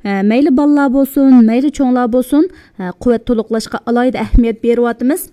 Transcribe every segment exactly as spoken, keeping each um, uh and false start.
ئە، مەيلى بالىلار بولسۇن، مەيلى چوڭلار بولسۇن، ئە، قۇۋۋەت تولۇقلاشقا ئالاھىدە ئەھمىيەت بېرىۋاتىمىز.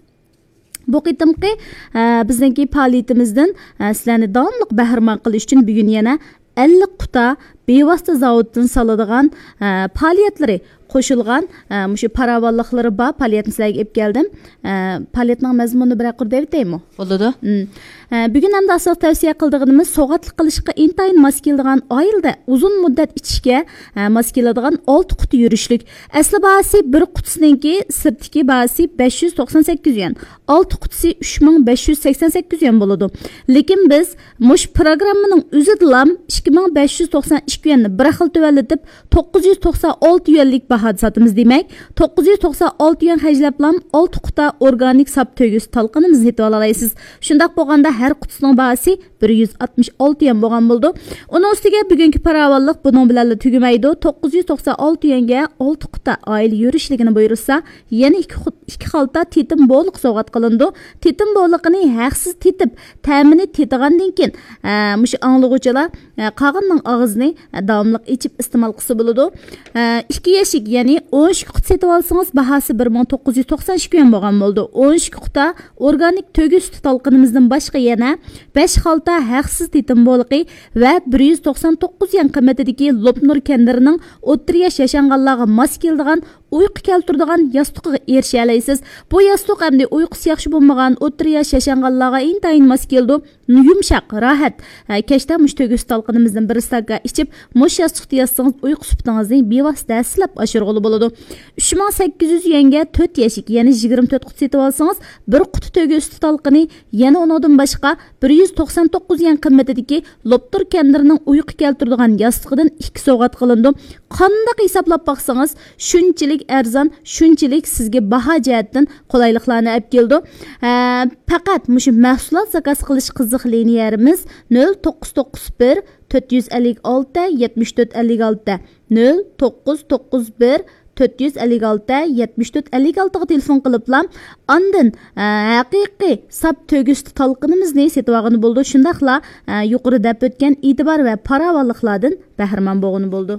بۇ قېتىمقى، ئە، بىزنىڭكى پائالىيىتىمىزدىن، ئە، سىلەرنى داۋاملىق بەھرىمەن قىلىش ئۈچۈن بۈگۈن يەنە ئەللىك قۇتا بىۋاسىتە زاۋۇتتىن سالىدىغان، ئە، پائالىيەتلىرى قوشۇلغان، ئە، مۇشۇ پاراۋانلىقلىرى بار پائالىيەتنى سىلەرگە ئېلىپ كەلدىم. ئە، پائالىيەتنىڭ مەزمۇنىنى بىرەر قۇر دەۋېتەيمۇ؟ بولىدۇ. مم. ئە، بۈگۈن ئەمدى ئاساسلىق تەۋسىيە قىلىدىغىنىمىز سوۋغاتلىق قىلىشقا ئىنتايىن ماس كېلىدىغان، ئائىلىدە ئۇزۇن مۇددەت ئىچىشكە، ئە، ماس كېلىدىغان ئالتە قۇتا يۈرۈشلۈك. ئەسلى باھاسى بىر قۇتىسىنىڭكى سىرتتىكى باھاسى بەش يۈز توقسان سەككىز يۈەن، ئالتە قۇتىسى ئۈچ مىڭ بەش يۈز سەكسەن سەككىز يۈەن بولىدۇ. لېكىن بىز مۇشۇ پروگراممىنىڭ ئۆزىدىلا ئىككى مىڭ بەش يۈز توقسان ئىككى يۈەننى بىر خىل تۆۋەنلىتىپ، توققۇز يۈز توقسان ئالتە يۈەنلىك باھادا ساتىمىز دېمەك. توققۇز يۈز توقسان ئالتە يۈەن خەجلەپلا ئالتە قۇتا ئورگانىك ساپ تۆگە سۈتى تالقىنىمىزنى سېتىۋالالايسىز. شۇنداق بولغاندا ھەر قۇتىسىنىڭ باھاسى بىر يۈز ئاتمىش ئالتە يۈەن بولغان بولىدۇ. ئۇنىڭ ئۈستىگە بۈگۈنكى پاراۋانلىق بۇنىڭ بىلەنلا تۈگىمەيدۇ. توققۇز يۈز توقسان ئالتە يۈەنگە ئالتە قۇتا ئائىلە يۈرۈشلۈكىنى بۇيرۇتسا، يەنە ئىككى خۇت-، ئىككى خالتا تېتىم بولىقى سوۋغات قىلىنىدۇ. تېتىم بولىقىنى ھەقسىز تېتىپ، تەمىنى تېتىغاندىن كېيىن، ئە، مۇشۇ ئاڭلىغۇچىلار، ئە، قالغىنىنىڭ ئاغزىنى، ئە، داۋاملىق ئېچىپ ئىستېمال قىلسا بولىدۇ. ئە، ئىككى يەشىك، يەنى ئون ئىككى قۇتا سېتىۋالسىڭىز، باھاسى بىر مىڭ توققۇز يۈز توقسان ئىككى يۈەن بولغان بولىدۇ. ئون ئىككى قۇتا ئورگانىك تۆگە سۈتى تالقىنىمىزدىن باشقا يەنە بەش خالتا ھەقسىز تېتىم بولىقى ۋە بىر يۈز توقسان توققۇز يۈەن قىممىتىدىكى لوپنۇر كەندىرىنىڭ ئوتتۇرا ياش ياشانغانلارغا ماس كېلىدىغان ئۇيقۇ كەلتۈرىدىغان ياستۇقىغا ئېرىشەلەيسىز. بۇ ياستۇق ئەمدى ئۇيقۇسى ياخشى بولمىغان ئوتتۇرا ياش ياشانغانلارغا ئىنتايىن ماس كېلىدۇ. يۇمشاق، راھەت. ھە، كەچتە مۇشۇ تۆگە سۈتى تالقىنىمىزدىن بىر ئىستاكان ئىچىپ، مۇشۇ ياستۇقتا ياتسىڭىز ئۇيقۇ سۈپىتىڭىزنى بىۋاسىتە ھەسسىلەپ ئاشۇرغىلى بولىدۇ. ئۈچ مىڭ سەككىز يۈەنگە تۆت يەشىك، يەنى يىگىرمە تۆت قۇتا سېتىۋالسىڭىز، بىر قۇتا تۆگە سۈتى تالقىنى، يەنە ئۇنىڭدىن باشقا بىر يۈز توقسان توققۇز يۈەن قىممىتىدىكى لوپتۇر كەندىرىنىڭ ئۇيقۇ كەلتۈرىدىغان ياستۇقىدىن ئىككى سوۋغات قىلىنىدۇ. قانداق ھېسابلاپ باقسىڭىز، شۇنچىلىك ئەرزان، شۇنچىلىك سىزگە باھا جەھەتتىن قولايلىقلارنى ئەپ كېلىدۇ. ھە، پەقەت مۇشۇ مەھسۇلات زاكاز قىلىش قىزىق لىنىيەمىز نۆل توققۇز توققۇز بىر، تۆت يۈز ئەللىك ئالتە، يەتمىش تۆت ئەللىك ئالتە، نۆل توققۇز توققۇز بىر، تۆت يۈز ئەللىك ئالتە، يەتمىش تۆت ئەللىك ئالتىغا تېلېفون قىلىپلا، ئاندىن، ھە، ھەقىقىي ساپ تۆگە سۈتى تالقىنىمىزنى سېتىۋالغىلى بولىدۇ. شۇنداقلا، ھە، يۇقىرىدا دەپ ئۆتكەن ئېتىبار ۋە پاراۋانلىقلاردىن بەھرىمەن بولغىلى بولىدۇ.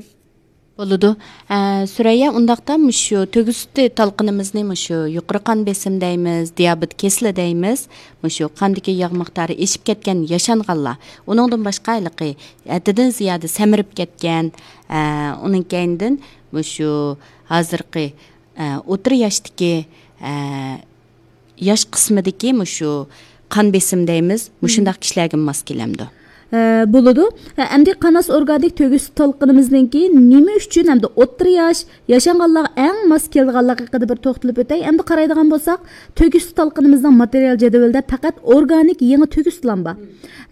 بولىدۇ. ئە، سۈرەييە، ئۇنداقتا مۇشۇ تۆگە سۈتى تالقىنىمىزنى مۇشۇ يۇقىرى قان بېسىم دەيمىز، دىيابېت كېسىلى دەيمىز، مۇشۇ قاندىكى ياغ مىقدارى ئېشىپ كەتكەن ياشانغانلار، ئۇنىڭدىن باشقا ھېلىقى ھەددىدىن زىيادە سەمرىپ كەتكەن، ئە، ئۇنىڭ كەينىدىن مۇشۇ ھازىرقى، ئە، ئوتتۇرا ياشتىكى، ئە، ياش قىسمىدىكى مۇشۇ قان بېسىم دەيمىز، مۇشۇنداق كىشىلەرگە ماس كېلەمدۇ؟ ھە، بولىدۇ. ھە، ئەمدى قاناس ئورگانىك تۆگە سۈتى تالقىنىمىزنىڭكى نېمە ئۈچۈن ئەمدى ئوتتۇرا ياش، ياشانغانلارغا ئەڭ ماس كېلىدىغانلىقى ھەققىدە بىر توختىلىپ ئۆتەي. ئەمدى قارايدىغان بولساق، تۆگە سۈتى تالقىنىمىزنىڭ ماتېرىيال جەدۋىلىدە پەقەت ئورگانىك يېڭى تۆگە سۈتىلا بار.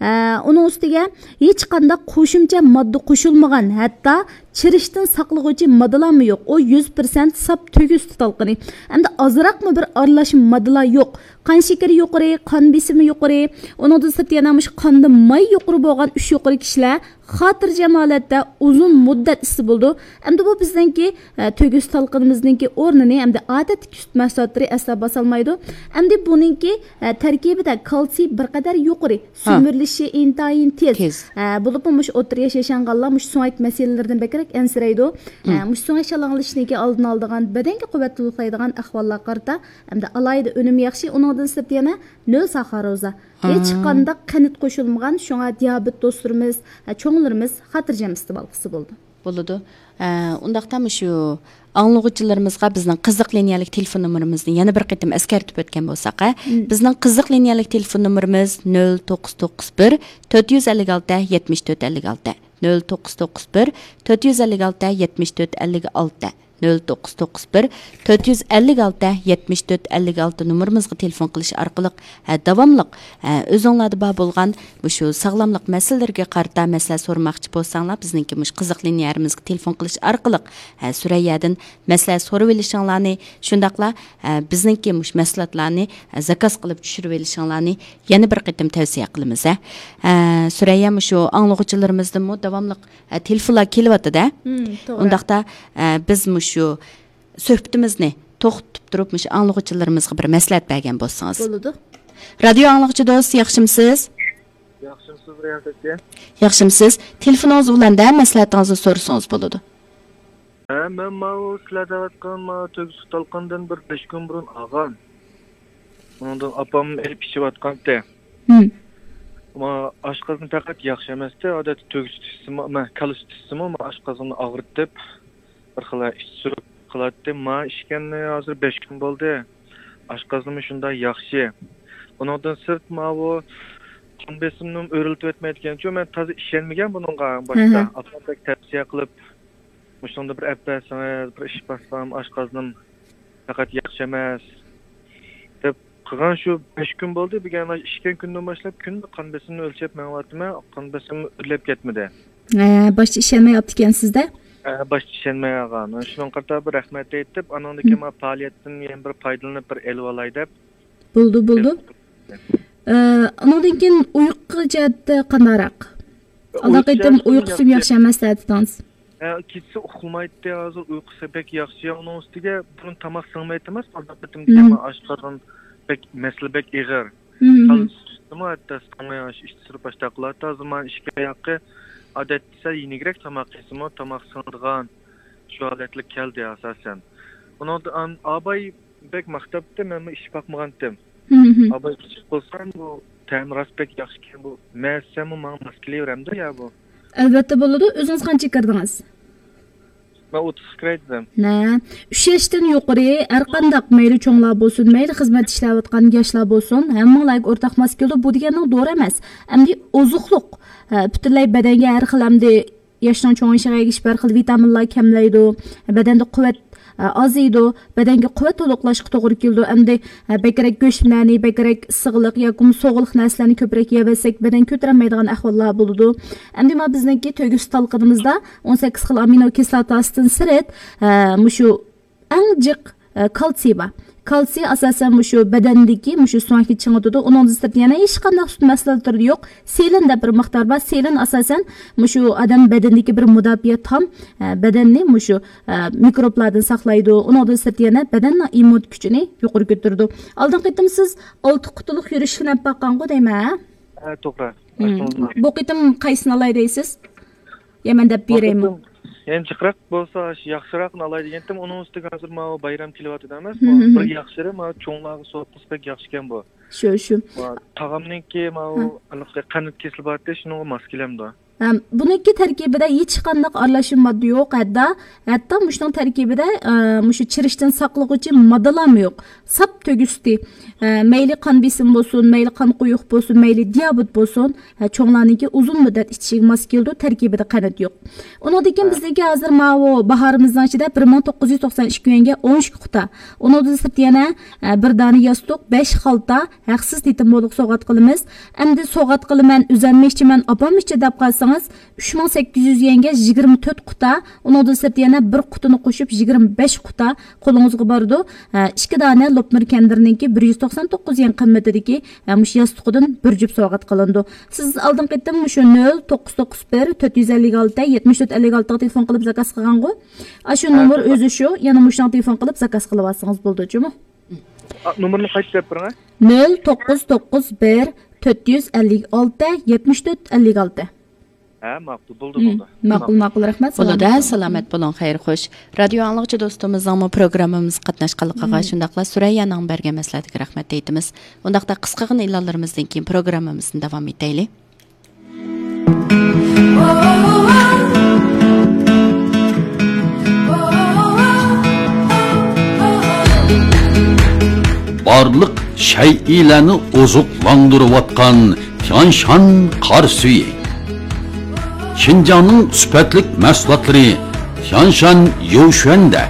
ھە، ئۇنىڭ ئۈستىگە ھېچقانداق قوشۇمچە ماددا قوشۇلمىغان، ھەتتا چىرىشتىن ساقلىغۇچى ماددىلارمۇ يوق. ئۇ يۈز پىرسەنت ساپ تۆگە سۈتى تالقىنى. ئەمدى ئازراقمۇ بىر ئارىلاشما ماددىلار يوق. قان شېكىرى يۇقىرى، قان بېسىمى يۇقىرى، ئۇنىڭدىن سىرت يەنە مۇشۇ قاندا ماي يۇقىرى بولغان ئۈچ يۇقىرى كىشىلەر خاتىرجەم ھالەتتە ئۇزۇن مۇددەت ئىچسە بولىدۇ. ئەمدى بۇ بىزنىڭكى، ئە، تۆگە سۈتى تالقىنىمىزنىڭكى ئورنىنى ئەمدى ئادەتتىكى سۈت مەھسۇلاتلىرى ئەسلا باسالمايدۇ. ئەمدى بۇنىڭكى، ئە، تەركىبىدە كالتسىي بىر قەدەر يۇقىرى. ھا. سۈمۈرۈلۈشى ئىنتايىن تېز. تېز. ھە، بولۇپمۇ مۇشۇ ئوتتۇرا ياش ياشانغانلار مۇشۇ سۆڭەك مەسىلىلىرىدىن بەكرەك ئەنسىرەيدۇ. ھە، مۇشۇ سۆڭەك شالاڭلىشىشنىڭكى ئالدىنى ئالىدىغان، بەدەنگە قۇۋۋەت تولۇقلايدىغان ئەھۋاللارغا قارىتا، ئەمدى ئالاھىدە ئۈنۈم ياخشى، ئۇنىڭدىن سىرت يەنە نۆل ساخاروزا. ھېچقانداق قەنت قوشۇلمىغان، شۇڭا دىيابېت دوستلىرىمىز، ھە، چوڭلىرىمىز خاتىرجەم ئىستېمال قىلسا بولىدۇ. بولىدۇ. ئە، ئۇنداقتا مۇشۇ ئاڭلىغۇچىلىرىمىزغا بىزنىڭ قىزىق لىنىيەلىك تېلېفون نومۇرىمىزنى يەنە بىر قېتىم ئەسكەرتىپ ئۆتكەن بولساق، ھە؟ بىزنىڭ قىزىق لىنىيەلىك تېلېفون نومۇرىمىز نۆل توققۇز توققۇز بىر، تۆت يۈز ئەللىك ئالتە، يەتمىش تۆت ئەللىك ئالتە، نۆل توققۇز توققۇز بىر، تۆت يۈز ئەللىك ئالتە، يەتمىش تۆت ئەللىك ئالتە، نۆل توققۇز توققۇز بىر، تۆت يۈز ئەللىك ئالتە، يەتمىش تۆت ئەللىك ئالتە نومۇرىمىزغا تېلېفون قىلىش ئارقىلىق، ھە، داۋاملىق، ھە، ئۆزۈڭلاردا بار بولغان مۇشۇ ساغلاملىق مەسىلىلىرىگە قارىتا مەسلىھەت سورىماقچى بولساڭلار، بىزنىڭكى مۇشۇ قىزىق لىنىيەمىزگە تېلېفون قىلىش ئارقىلىق، ھە، سۈرەييەدىن مەسلىھەت سورىۋېلىشىڭلارنى، شۇنداقلا، ھە، بىزنىڭكى مۇشۇ مەھسۇلاتلارنى، ھە، زاكاز قىلىپ چۈشۈرۈۋېلىشىڭلارنى يەنە بىر قېتىم تەۋسىيە قىلىمىز، ھە. ھە، سۈرەييە، مۇشۇ ئاڭلىغۇچىلىرىمىزدىنمۇ داۋاملىق، ھە، تېلېفونلار كېلىۋاتىدۇ، ھە. مم، توغرا. ئۇنداقتا، ھە، بىز مۇشۇ سۆھبىتىمىزنى توختىتىپ تۇرۇپ، مۇشۇ ئاڭلىغۇچىلىرىمىزغا بىر مەسلىھەت بەرگەن بولسىڭىز. بولىدۇ. رادىيو ئاڭلىغۇچى دوست، ياخشىمۇ سىز؟ ياخشىمۇ سىز، رىياسەتچى؟ ياخشىمۇ سىز؟ تېلېفونىڭىزنى ئۇلاندە، مەسلىھەتىڭىزنى سورىسىڭىز بولىدۇ. ھە، مەن ماۋۇ سىلەر دەۋاتقان ماۋۇ تۆگە سۇ تالقىنىدىن بىر بەش كۈن بۇرۇن ئالغان. ئۇنىڭدىن ئاپام ئېلىپ ئىچىۋاتقانتى. ھىم. ما ئاشقازىنى پەقەت ياخشى ئەمەستى. ئادەتتە تۆگە سۈتى ئىچسىمۇ، ما كالا سۈتى ئىچسىمۇ، ما ئاشقازىنىنى ئاغرىتىپ، بىر خىل ئىچ سۈرۈپ قىلاتتى. ما ئىچكەننى ھازىر بەش كۈن بولدى. ئاشقازىنىمۇ شۇنداق ياخشى. ئۇنىڭدىن سىرت ماۋۇ قان بېسىمنىمۇ ئۆرلىتىۋەتمەيدىكەنچۇ. مەن تازا ئىشەنمىگەن بۇنىڭغا باشتا. ئاپام بەك تەۋسىيە قىلىپ، مۇشۇنىڭدا بىر ئەپ بەرسىڭىز، بىر ئىچىپ باقسام، ئاشقازىنىم پەقەت ياخشى ئەمەس، دەپ قىلغان. شۇ بەش كۈن بولدى. بۈگۈن ئىچكەن كۈندىن باشلاپ كۈندە قان بېسىمنى ئۆلچەپ مېڭىۋاتىمەن. قان بېسىمىم ئۆرلەپ كەتمىدى. ھە، باشتا ئىشەنمەي ئھە، باشتا ئىشەنمەي قالغان. شۇنىڭغا قارىتا بىر رەھمەت ئېيتىپ، ئانىڭدىن كېيىن مانا پائالىيەتتىن يەنە بىر پايدىلىنىپ، بىر ئېلىۋالاي دەپ. بولدى، بولدى. ئە، ئۇنىڭدىن كېيىن ئۇيقۇ جەھەتتە قانداقراق؟ ئالدىنقى قېتىم ئۇيقۇسىمۇ ياخشى ئەمەس دەۋاتىدىڭىز. ھە، كېچىسى ئۇخلىمايتتى، ھازىر ئۇيقۇسى بەك ياخشى. ئۇنىڭ ئۈستىگە بۇرۇن تاماق سىڭمەيتتى ئەمەس، ئالدىنقى قېتىم دېگەن ئاشقازان بەك، مەسىلە بەك ئېغىر. كالتسىيمۇ ھەتتا سىڭماي، ئاشۇ ئىچ سۈرۈپ باشلاپ قالاتتى. ھازىر مانا ئىككى ئاياققا ئادەتتە سەل يېنىكرەك تاماق يېسىمۇ، تاماق سىڭىدىغان شۇ ھالەتلىك كەلدى ئاساسەن. ئۇنىڭدا ئاباي بەك ماختاپتۇ، مەنمۇ ئىچىپ باقمىغانتىم. ئاباي ئىچىپ قىلسام، بۇ تەمى راست بەك ياخشىكەن، بۇ مەسەممۇ ماڭا ماس كېلىۋېرەمدۇ يا بۇ؟ ئەلۋەتتە بولىدۇ. ئۆزىڭىز قانچە كىردىڭىز؟ مەن ئوتتۇزغا كىرەي دېدىم. نە، ئۈچ ياشتىن يۇقىرى ھەر قانداق، مەيلى چوڭلار بولسۇن، مەيلى خىزمەت ئىشلەۋاتقان ياشلار بولسۇن، ھەممىڭلارغا ئورتاق ماس كېلىدۇ. بۇ دېگەننىڭ دورا ئەمەس. ئەمدى ئوزۇقلۇق، ھە، پۈتۈنلەي بەدەنگە ھەر خىل ئەمدى ياشنىڭ چوڭىيىشىغا ئەگىشىپ ھەر خىل ۋىتامىنلار كەملەيدۇ، بەدەندە قۇۋۋەت، ئە، ئازىيىدۇ، بەدەنگە قۇۋۋەت تولۇقلاشقا توغرا كېلىدۇ. ئەمدى، ئە، بەكرەك گۆشلەرنى، بەكرەك ئىسسىقلىق ياكىمۇ سوغۇقلۇق نەرسىلەرنى كۆپرەك يەۋەرسەك، بەدەن كۆتۈرەلمەيدىغان ئەھۋاللار بولىدۇ. ئەمدى مانا بىزنىڭكى تۆگە سۈت تالقىنىمىزدا ئون سەككىز خىل ئامىنو كىسلاتاسىدىن سىرت، ئە، مۇشۇ ئەڭ جىق، ئە، كالتسىي بار. كالتسىي ئاساسەن مۇشۇ بەدەندىكى مۇشۇ سۆڭەكنى چىڭىتىدۇ. ئۇنىڭدىن سىرت يەنە ھېچقانداق سۈت مەھسۇلاتلىرىدا يوق. سېلېن دەپ بىر مىقدار بار. سېلېن ئاساسەن مۇشۇ ئادەم بەدىنىدىكى بىر مۇداپىئە تام، ئە، بەدەننى مۇشۇ، ئە، مىكروبلاردىن ساقلايدۇ. ئۇنىڭدىن سىرت يەنە بەدەننىڭ ئىممۇنىتېت كۈچىنى يۇقىرى كۆتۈرىدۇ. ئالدىنقى قېتىم سىز ئالتە قۇتىلىق يۈرۈشلۈك ئەپ باققانغۇ دەيمەن، ھە؟ ھە، توغرا. بۇ قېتىم قايسىنى ئالاي دەيسىز؟ يا مەن دەپ بېرەيمۇ؟ يەنە جىقراق بولسا، ياخشىراقنى ئالاي دېگەنتىم، ئۇنىڭ ئۈستىگە ھازىر ماۋۇ بايرام كېلىۋاتىدۇ ئەمەسمۇ؟ بىر ياخشىرى ماۋۇ چوڭلارغا سوۋغا قىلسا بەك ياخشىكەن بۇ. شۇ، شۇ. تاغامنىڭكى ماۋۇ ھېلىقى قەنت كېسىلى بارتى، شۇنىڭغا ماس كېلەمدۇ؟ ھەم بۇنىڭكى تەركىبىدە ھېچقانداق ئارىلاشما ماددا يوق، ھەتتا، ھەتتا مۇشۇنىڭ تەركىبىدە، ئە، مۇشۇ چىرىشتىن ساقلىغۇچى ماددىلارمۇ يوق. ساپ تۆگە سۈتى. ئە، مەيلى قان بېسىمى بولسۇن، مەيلى قان قويۇق بولسۇن، مەيلى دىيابېت بولسۇن، ھە، چوڭلارنىڭكى ئۇزۇن مۇددەت ئىچىشىگە ماس كېلىدۇ، تەركىبىدە قەنت يوق. ئۇنىڭدىن كېيىن بىزنىڭكى ھازىر ماۋۇ باھارىمىزنىڭ ئىچىدە بىر مىڭ توققۇز يۈز توقسان ئىككى يۈەنگە ئون ئىككى قۇتا. ئۇنىڭدىن سىرت يەنە، ئە، بىر دانە ياستۇق، بەش خالتا، ھەقسىز تېتىم بولدۇق سوۋغات قىلىمىز. ئەمدى سوۋغات قىلىمەن، ئۆزەممۇ ئىچىمەن، ئاپاممۇ ئىچىدۇ دەپ قالسىڭىز، ئۈچ مىڭ سەككىز يۈز يۈەنگە يىگىرمە تۆت قۇتا، ئۇنىڭدىن سىرت يەنە بىر قۇتىنى قوشۇپ يىگىرمە بەش قۇتا قولىڭىزغا بارىدۇ. ھە، ئىككى دانە لوپنۇر كەندىرنىڭكى بىر يۈز توقسان توققۇز يۈەن قىممىتىدىكى، ھە، مۇشۇ ياستۇقىدىن بىر جۈپ سوۋغات قىلىنىدۇ. سىز ئالدىنقى قېتىم مۇشۇ نۆل توققۇز توققۇز بىر، تۆت يۈز ئەللىك ئالتە، يەتمىش تۆت ئەللىك ئالتىغا تېلېفون قىلىپ زاكاز قىلغانغۇ؟ ئاشۇ نومۇر ئۆزى شۇ، يەنە مۇشۇنىڭغا تېلېفون قىلىپ زاكاز قىلىۋالسىڭىز بولىدۇ جۇمۇ. نومۇرنى قايتا دەپ بېرىڭە. نۆل توققۇز توققۇز بىر، تۆت يۈز ئەللىك ئالتە، يەتمىش تۆت ئەللىك ئالتە. ھە، ماقۇل، بولدى، بولدى. ماقۇل، ماقۇل، رەھمەت. بولىدۇ، سالامەت بولۇڭ. سالامەت بولۇڭ، خەير، خوش. رادىيو ئاڭلىغۇچى دوستىمىزنىڭمۇ پروگراممىمىزغا قاتناشقانلىقىغا، شۇنداقلا سۈرەييانىڭ بەرگەن مەسلىھەتىگە رەھمەت ئېيتىمىز. ئۇنداقتا قىسقىغىنە ئېلانلىرىمىزدىن كېيىن پروگراممىمىزنى داۋام ئېتەيلى. بارلىق شەيئىلەرنى ئوزۇقلاندۇرۇۋاتقان تيانشان قار سۈيى. شىنجاڭنىڭ سۈپەتلىك مەھسۇلاتلىرى تيانشان يوشۈەندە.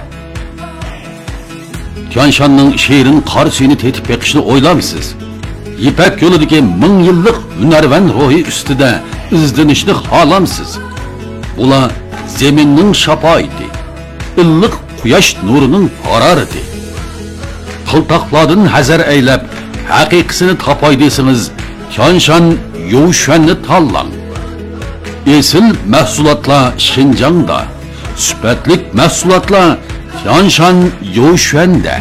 تيانشاننىڭ شېرىن قار سۈيىنى تېتىپ بېقىشنى ئويلامسىز؟ يىپەك يولىدىكى مىڭ يىللىق ھۈنەرۋەن روھى ئۈستىدە ئىزدىنىشنى خالامسىز؟ بۇلار زېمىننىڭ شاپائىتى، ئىللىق قۇياش نۇرىنىڭ ھارارىتى. قىلتاقلاردىن ھەزەر ئەيلەپ، ھەقىقىسىنى تاپاي دېسىڭىز، تيانشان يوشۈەننى تاللاڭ. ئېسىل مەھسۇلاتلار شىنجاڭدا، سۈپەتلىك مەھسۇلاتلار تيانشان يوشۈەندە.